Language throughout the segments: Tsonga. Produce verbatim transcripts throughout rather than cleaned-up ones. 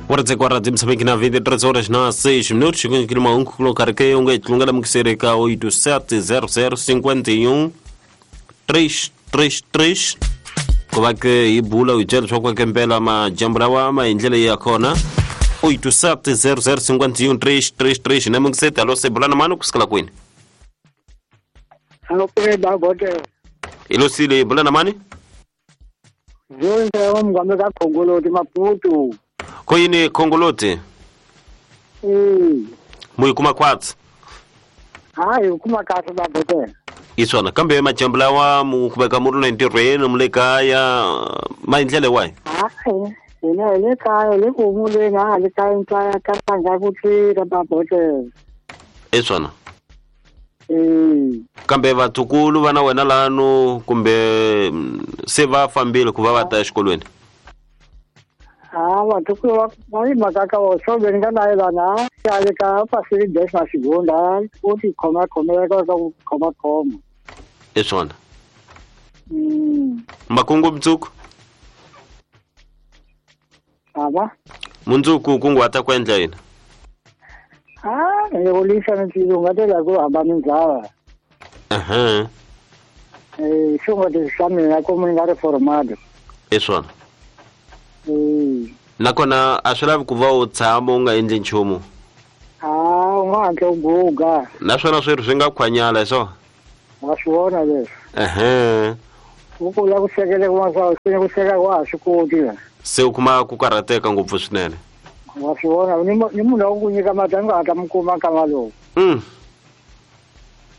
Kwa Moçambique na vinte e três horas na seis minutos, um colocar que um que oito sete zero zero cinquenta e um três três três. Como é que ibula o gelo só com a mpela ma jambrawa ma indlela ya khona oito sete zero zero cinquenta e um três três três na mungiseta lo sebulana mano kusikala kwini. Alô peba bote. Ilo sile bulana mani? Jonse omngame ka Khongoloti Maputo. Koyini Khongoloti? Mm. Muyi kuma kwatsi. Hayi kuma kahle babote. Isona kambe majambulawa mukubeka muru na ntirhweni mulekaya maindlele wayi? Hayi hina hi le kaya le ku humuleni a le kaya ntsaya ka tanga ku tlira babote. Isona. Mm. Kambe vatukulu vana wena lano kumbe se va fambile ku va va ta exikolweni? Ah, vatukulu va va yi mhaka ka wo so ni nga na yena ya le ka pasiri des na xigunda u ti khoma khomela ka ku khoma khoma. Isona. Mm. Makungu mtsuku? Aba? Mundzuku kunguhata ku endla yini? Ah, ni ulisa ni ungatela ku hamba mindzava. Aha. Eh, xo nga swa mina ku mi nga ri formado. Isona. Eh. Nakona a swi lavi ku va u tshama u nga endli nchumu. Ah, u nga hatla u guga. Naswona swirho swi nga khwanyala hi swona? Wa swi vona leswi. Ehe. U kula ku sekele ku swa ku seka wa ha swi koti. Se u kuma ku karhateka ngopfu swinene. Wa swi vona ni ni munhu wa ku nyika mati a nga hatla mi kuma nkama lowu. Mm.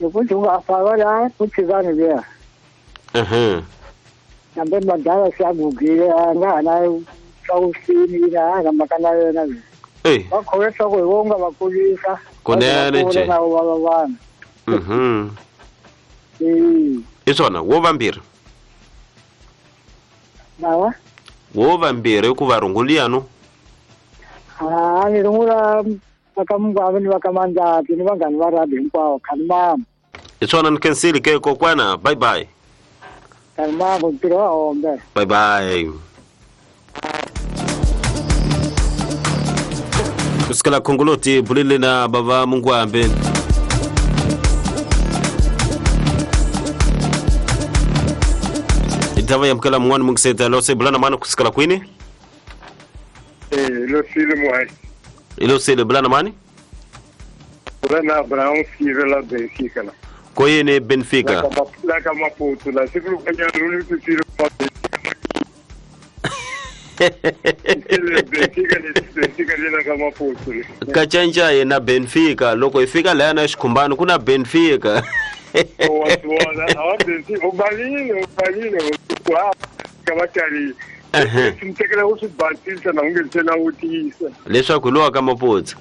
Loko ndzi nga fava la ku tshikani luya. Ehe. Kambe madala se a gugile a nga ha na swa vusini na na mhaka na yena. Eh. Va khome leswaku hi vo nga va kulisa. Kunene nje. Na va va vanhu. Mhm. Eh. Isona wo vambirhi. Nawa? Wo vambirhi ku va runguliyano. Ah, ni rungula va ka Mungwavi ni va ka Mandlati ni vanghani va rugby hinkwavo khalimama. Isona ni khensile ke kokwana bye bye. Khalimama ntirho wa hombe. Bye bye. Kusikala Khongoloti bulile na baba Mungwambe. Itava yamkela mwana mungiseta lo sebulana mano kusikala kwini? Eh, lo sile muai. Ilo sile bulana mani? Bulana Abraão Silva la Benfica la. Koyene Benfica. La ka Maputo la siku kanya ruli ku sile Benfica Benfica le ka Maputo. Kachanja yena Benfica loko ifika la na xikhumbano kuna Benfica. Wa swona, a Benfica u balile, u balile kwa kabatali. Sintekela u swi basisa na unge tlhela u tiyisa. Leswaku lowa ka Maputo.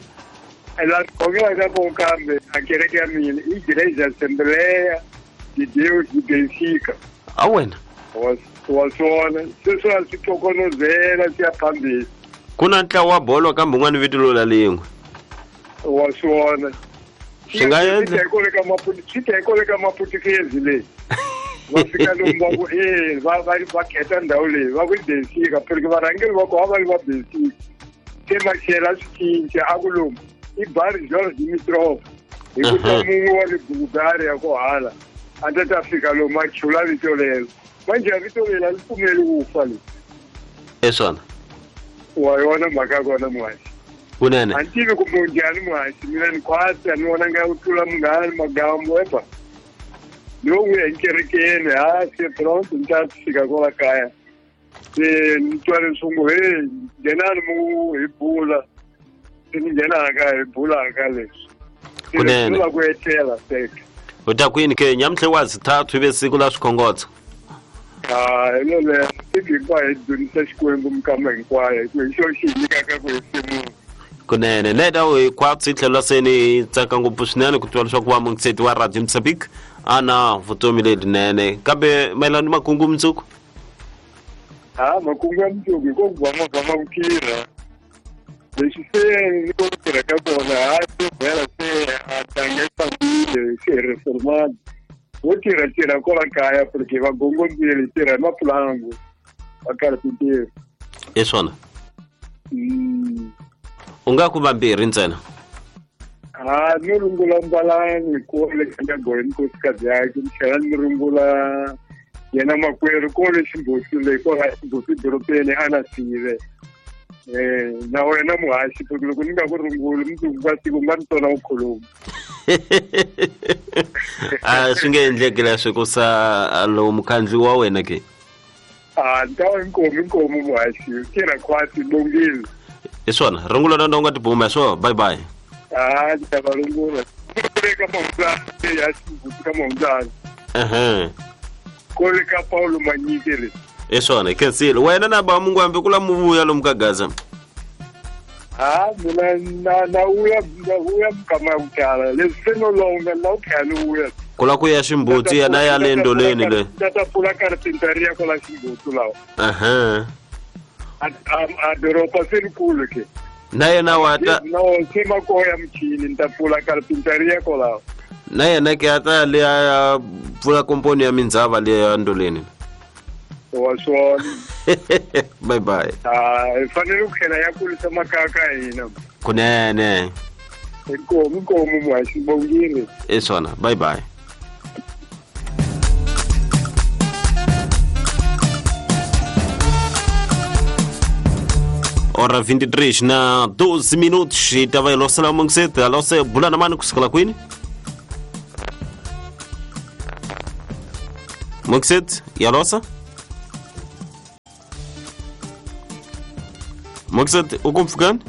Ela khongela ka ko kambe a kereke ya mina i Igreja Assembleia de Deus de Benfica. A wena? Wa wa swona, sweswo a swi tokonozela swi ya phambili. Ku na ntlawa wa bolo kambe un'wana vito lo la lin'we. Wa swona. Swi nga endla. Swi ta hi ka Maputukezi leyi. Va fika lomu va ku e va va va khetha ndhawu leyi va ku i Benfica porque varhangeri va kona va ri va Benfica. Se machela swi cinca a ku lomu i Bari George Dimitrov hi ku ta mun'we wa le Bulgaria ko hala a ta ta fika lomu a chula vito lero. Manje a vito leri a ri pfumeli ku fa leri. Isona. Wa yona mhaka ya kona muhaxi. Kunene. A ni tivi kumbe njhani muhaxi mina ni khwatsi a ni vona nga ku tlula munghana magambo epa. Ni wo n'wi enkerekeni ha se pronto ni ta fika kwala kaya. Se ni twa leswi ngo he nghenani mu hi bula. Se ni nghena kaya hi bula ka leswi. Kunene. Ni ku etlela seke. U ta kwini ke nyamutlhe wa zithathu ive siku la swikhongotso. Ah, hi lolero siku hinkwayo hi dzunisa Xikwembu minkama hinkwayo hi ku hi xona xi hi nyikaka ku hefemula. Kunene leta u hi khwatsi tlhela se ni tsaka ngopfu swinene ku twa leswaku wa mungiseti wa Radio Moçambique ana vutomi lebyinene kambe mayelana ni makungu mundzuku. Ah, makungu ya mundzuku hi ko ku va mavama ku tirha. Leswi se ni ku tirha ka kona ha se vhela se a tanga yi fambile se hi reformado. Wo tirha tirha kwala kaya porque va gongondzile tirha hi mapulangu va karhi ku tirha. Isona. Mm. U nga ku vambirhi ntsena. Ha ni rungula mbalani ko le ka goyini nkosikazi yakhe ni tlhela ni rungula yena makwerhu ko le Ximbuti le ko la Ximbuti dorobeni a na sive. Eh na wena muhaxi loko ni nga ku runguli mundzuku ka siku nga ni tona u khuluma. A swi nge endleki leswi ku sa lowu mukhandli wa wena ke. A ni ta va inkomu inkomu muhaxi tirha khwati bongile. Hi swona rungula na u nga tibuma swo bye bye. A ni ta va rungula ka mahundzani ya Ximbuti ka mahundzani. Ehe. Ko le ka Paulo Manyike le. Hi swona khensile wena na ba mungwambi ku la muvuya lomu ka Gaza. Ha mina na na uya na uya mukama ya ku tala leswi se no longa la u tlhela ni vuya. Ku la ku ya Ximbuti ya na ya le ndoleni le. Ta ta pfula carpinteria kwala Ximbuti lawa. Ehe. A a doroba se rikulu ke. Na yena wa ta no se makoya michini ni ta pfula carpinteria kwalaho. Na yena ke a ta le ya pfula komponi ya mindzava le ya ndoleni. Wa swona. Bye bye. Ah, hi fanele ku tlhela ya kulisa makaya ka hina. Kunene. Inkomu inkomu muhaxi bongile. Hi swona bye bye. Ora vinte e três na doze minutos e tava losela mungisete alose bula na mani kusukela kwini? Mungisete yalosa? Mungisete ukumfukani?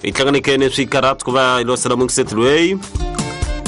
Itlanganikene swikaratu ku va ilosela mungisete lweyi.